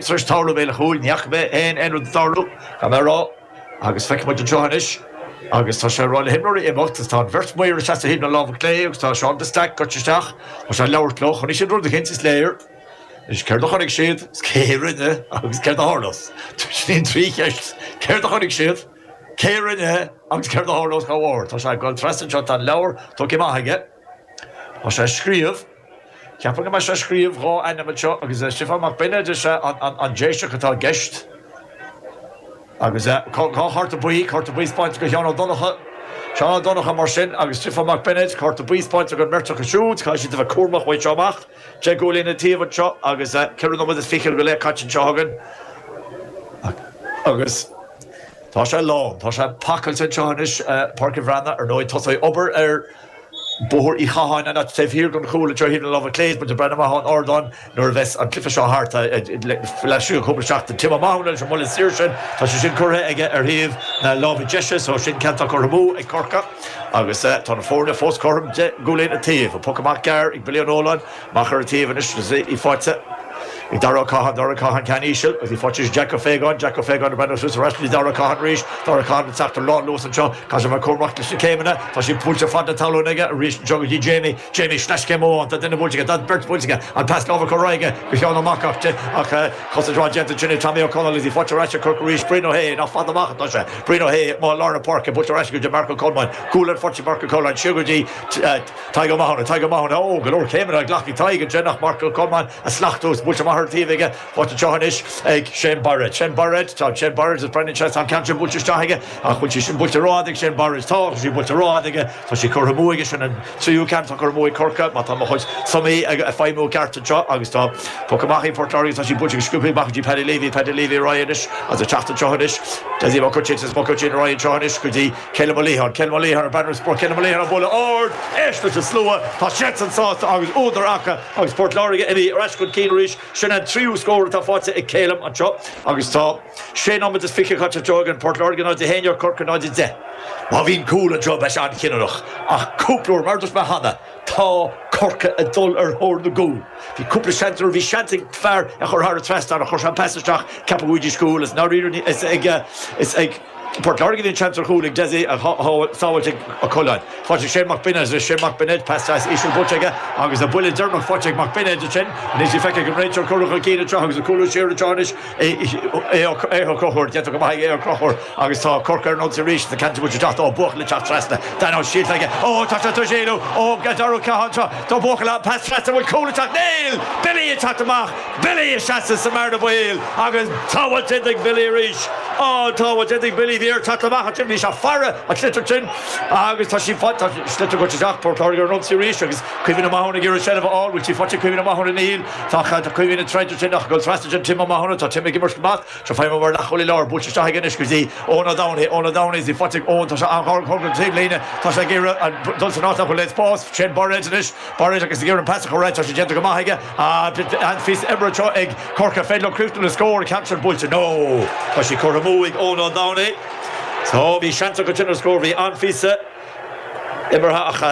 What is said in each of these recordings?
Tar éis tarlú i mbéal an chúil, ní fhaca mé féin aon rud ag tarlú, gan mé a rá, agus feicfidh muid anseo anois, agus tá sé ag rá le himreoirí imeacht, agus tá an bheirt maor ag seasamh thaobh na láimhe clé agus tá Seán de Staic gaibhte isteach, tá sé ag labhairt leo, chonaic siad rud eicínt, is léir. Anois, céard a chonaic siad, is cé a rinne, agus céard a tharla? Sin iad an trí cheist, céard a chonaic siad, cé a rinne, agus céard a tharla dá bharr? Tá sé ag dul trasna anseo, tá an leabhar tógtha amach aige, tá sé ag scríobh. Ceapaim go mbeidh sé ag scríobh 2 ainm anseo agus Stiofán Mac Beinéid is ea an Déiseach atá i gceist. Agus 2 chárta buí, cárta buí spáinte do Sheán Ó Donnchadha, Seán Ó Donnchadha mar sin agus Stiofán Mac Beinéid, cárta buí spáinte don mbeirt acu siúd. Caithfidh siad a bheith cúramach uaidh seo amach. 10 gcúilín an taobh anseo agus 4 nóiméad is fiche go leith caite anseo againn. Agus tá sé lán, tá sé pacáilte anseo anois, Páirc an Bhreathnaigh. Ar ndóigh tosóidh obair ar. Bóthar Uí Chatháin an áit taobh thiar den chúl anseo thaobh na láimhe clé is muid ag breathnú amach ón ardán nuair a bheas an cluiche seo thart laistigh de chúpla seachtain. Tim Ó Mathúna leis an mbuille saor sin, tá sé sin curtha aige ar thaobh na láimhe deise so sin ceann atá curtha amú ag Corcaigh agus tá na foirne fós cothrom 10 gcúilín an taobh. An poc amach gearr ag Billy Ó Nualláin amach ar an taobh anois agus í faighte ag Dara Ó Catháin, Dara Ó Catháin ceann íseal agus í faighte ag Jack Ó Faogáin, Jack Ó Faogáin ag breathnú suas ar ais go dtí Dara Ó Catháin arís, Dara Ó Catháin ag teacht ar lánluas anseo, caithfidh sé a bheith cúramach leis na céimeanna, tá sí buailte fad na talún aige arís anseo go dtí Jamie, Jamie sleaschéim amháin, tá duine buailte aige, tá beirt buailte aige, an pas láimhe curtha ar aghaidh aige go Sheán Ó Mac ach ach cosaint mhaith déanta ansin ag Tommy Ó Conaill agus í faighte ar ais ag Corcaigh arís, Brian Ó hAodha, nach fada amach atá sé, Brian Ó hAodha amuigh i lár na páirce, buailte ar ais go dtí Marc Ó Colmáin, gualainn faighte ag Marc Ó Colmáin, siar go dtí. Tadhg Ó Mathúna, Tadhg Ó Mathúna, Ó, go leor céimeanna glactha ag Tadhg ansin ach Marc Ó Colmáin a slachtú is buailte amach ar an taobh aige. Faighte anseo anois ag Shane Bairéad. Shane Bairéad, tá Shane Bairéad is breathnaíonn sé, tá an ceann sin buailte isteach aige ach bhfuil sí sin buailte rófhada ag Shane Bairéad? Tá, tá sí buailte rófhada aige. Tá sí curtha amú aige, sin an tríú ceann atá curtha amú ag Corcaigh má tá mo chuid sumaí ag feidhmiú i gceart anseo agus tá poc amach ag Port Láirge, tá sí buailte go sciobtha amach go dtí Paddy Leavey, Paddy Leavey ar aghaidh anois agus ag teacht anseo anois. Dessie Mac Uitín, Dessie Mac Uitín ar aghaidh anseo anois go dtí Calum Ó Liatháin, Calum Ó Liatháin ag breathnú ar sprioc, Calum Ó Liatháin ag bualadh ard, éist leis an slua, tá siadsan sásta agus údar acu agus Port Láirge imithe ar ais chun cinn arís. Sin an tríú scór atá faighte ag Calum anseo agus tá sé nóiméad is 20 caite anseo againn, Port Láirge 0, 1, Corcaigh 0, 10. Má bhíonn cúl anseo beidh sé an-chinniúnach ach cúpla uair, mar a dúirt mé cheana, Tá Corcaigh ag dul ar thóir na gcúl. Bhí cúpla seans nuair a bhí seans ag fear é a chur thar an trasnán ach chuir sé an pas isteach, ceapadh go bhfaighidís cúl. Is ndáiríre is ag is ag Port Láirge a bhí an seans ar chúl ag Dessie ach sábháilte ag Ó Coileáin. Faighte ag Shane Mac Beinéid is Shane Mac Beinéid pas deas íseal buailte aige agus an buille deireanach faighte ag Mac Beinéid ansin. Anois í feicthe ag an réiteoir curtha chun cinn anseo agus ag cúlú siar anseo anois. Aodh Ó Conchúir, déanta go maith ag Aodh Ó Conchúir agus tá Corcaigh ar an ionsaí arís. Tá ceann buailte isteach tá buachaill ag teacht trasna. Dan Ó Síolta aige. Ó tá sé tar éis éalú ó Dara Ó Catháin anseo. Tá buachaill ann. Pas trasna. Bhfuil cúl ag teacht? Níl! Billy ag teacht amach. Billy ag seasamh sa mbearna baoil agus sábháil déanta ag Billy arís. Á, sábháil déanta ag Billy. Bhí air teacht amach ansin. Bhí sé ag faire an sliotar sin agus tá sí tá sliotar goite isteach. Port Láirge ar an ionsaí arís agus Caoimhín Ó Mathúna ag iarraidh seilbh a fháil. Bhfuil sí faighte ag Caoimhín Ó Mathúna? Níl. Tá Caoimhín ag troid ansin ach ag dul trasna ansin Tim Ó Mathúna. Tá Tim ag imirt go maith. Seo feidhmiú mar leathchúlaí láir. Buailte isteach aige anois go dtí Eoin Ó Domhnaill. Eoin Ó Domhnaill is í faighte ag Eoin. Tá sé an-ghar don taobhlíne. Tá sé ag iarraidh dul san áit nach bhfuil aon spás. Shane Bairéad anois. Bairéad agus ag iarraidh an pas a chur air. Tá sé déanta go maith aige. An-phíosa oibre anseo ag Corcaigh. Féidir leo críochnú le scór. An ceann sin buailte. No! Tá sí curtha amú ag Eoin Ó Domhnaill. So bhí seans acu ansin ar scór. Bhí an-phíosa imeartha ach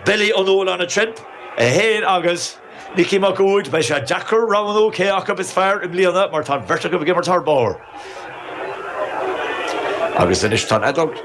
Billy Ó Nualláin ansin. É féin agus. Micí Mac Uaid, beidh sé deacair roghnú cé acu is fearr i mbliana mar tá an bheirt acu ag imirt thar barr. Agus anois tá an fheadóg.